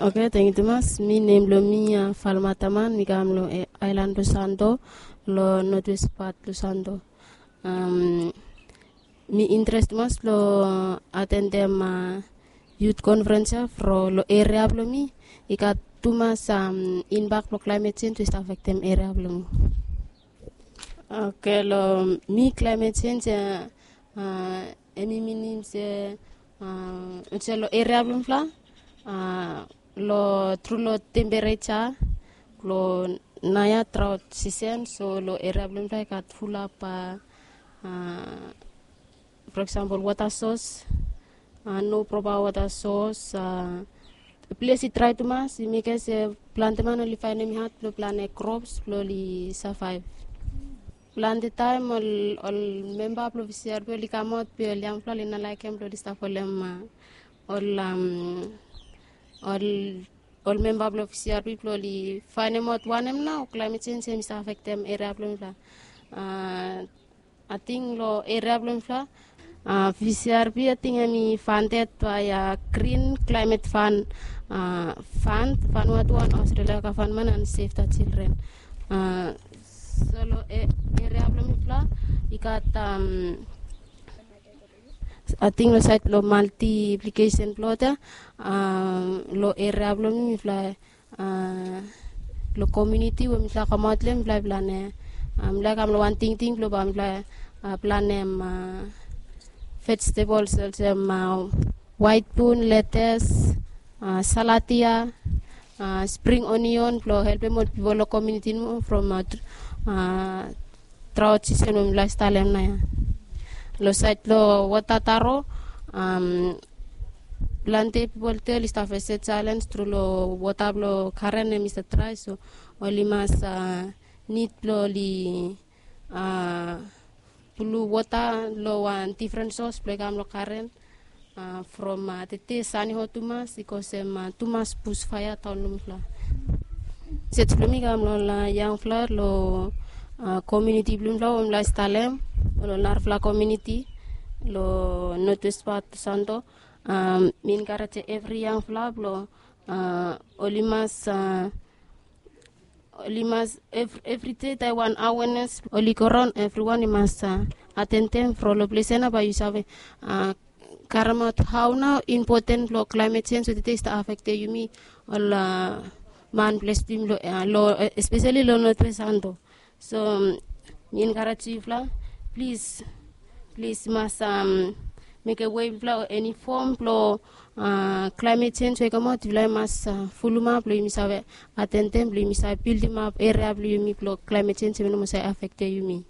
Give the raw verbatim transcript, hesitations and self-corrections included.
Oke, tangkiu tumas. Mi, nem blong mi Falmataman, mi kam long ailan blong Santo, long notwest pat blong Santo. Mi interes tumas long atendem yut konferens ya from long eria blong mi. I gat tumas, imbak blong klaemet jenj we i stap afektem eria blong mi. Oke, long mi klaemet jenj ya, em i minim se, olsem long eria blong mifala, long tru long tempereja, long naoia draot sisen, so long eria blong mifala i gat fulap, for example, wota sos, no propa wota sos. Ples i drae tumas i mekem se plante man oli faenem i had blong planem krops blong oli savaev. Plante taem ol, ol memba blong V C R B oli kamaot be ol yangfala oli no laekem blong oli stap holem ol, ol, ol memba blong V C R B blong oli faenemaot wanem nao klaemet jenj hemi stap afektem eria blong mifala. Ating long eria blong mifala, V C R B ating hemi fandet bae Grin Klaemet Fan, fan, Vanuatu and Australia gavman and Save the Children. So long eria blong mifala i gat, ating long saed blong maltiplikesen blong wota, long eria blong mi mifala, long komuniti we mifala kamaot long hem, mifala i planem, mifala i kam long wan tingting blong bae mifala planem vejetables olsem waet bin, letes, salatia, spring onion blong helpem ol pipol long komuniti nomo from draot sisen we mifala i stap long hem naoia. Long saed blong wota taro, plante pipol tu oli stap fesem jaelens tru long wota blong karen hemi stap drae, so oli mas nid blong oli pulu wota long wan difren sos blong i kam long karen. From tede sani hot tumas i kosem tumas busfaea daon long mifala. Sej blong mi kam long ol yangfala long komuniti blong mifala we mifala i stap long hem, ol narafala komuniti long notwest pat Santo. Mi enkarejem evri yangfala blong oli mas, oli mas, evri dei taem wan awenes oli go raon, evriwan i mas atendem from long ples ya nao bae yu save karemaot hao nao impoten blong klaemet jenj we tede i stap afektem yumi ol man ples blong yumi long, espeseli long notwest Santo. So mi enkarejem yufala, plis, plis mas mekem we yufala, eni fom blong klaemet jenj we i kamaot, yufala i mas fulumap blong yumi save atendem, blong yumi save bildimap eria blong yumi blong klaemet jenj hemi no moa save afektem yumi.